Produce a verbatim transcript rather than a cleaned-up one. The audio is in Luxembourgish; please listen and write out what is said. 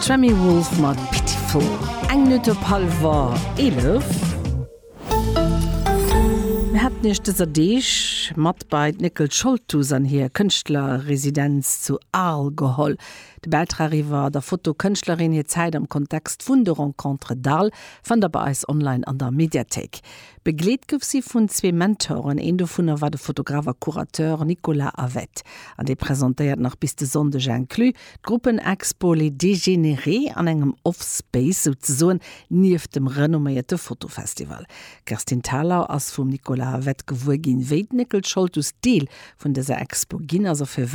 Tremi Wolf mat Pitiful. Eng Minutt op hallwer eelef. Mir haten iech dëser Deeg mat bei d'Nicole Scholtus an hir Kënschtlerresidenz zu Arles geholl. De Bäitrag iwwer der Fotokënschtlerin hir Zäit am Kontext vun de Rencontres d'Arles fannt der bei eis online an der Mediathéik. Begleet gouf si vun zwee Mentoren, een dovunner war de Fotograf a Curateur Nicolas Avet. An dee presentéiert nach bis de Sonndeg inclus d'Gruppenexpo Les Dégénérés an engem Off-Space souzesoen nieft dem renomméierte Fotofestival. D'Kerstin Thalau ass vum Nicolas Avet gewuer ginn, wéi d'Nicole Scholtus Deel vun dëser Expo ginn ass a firwat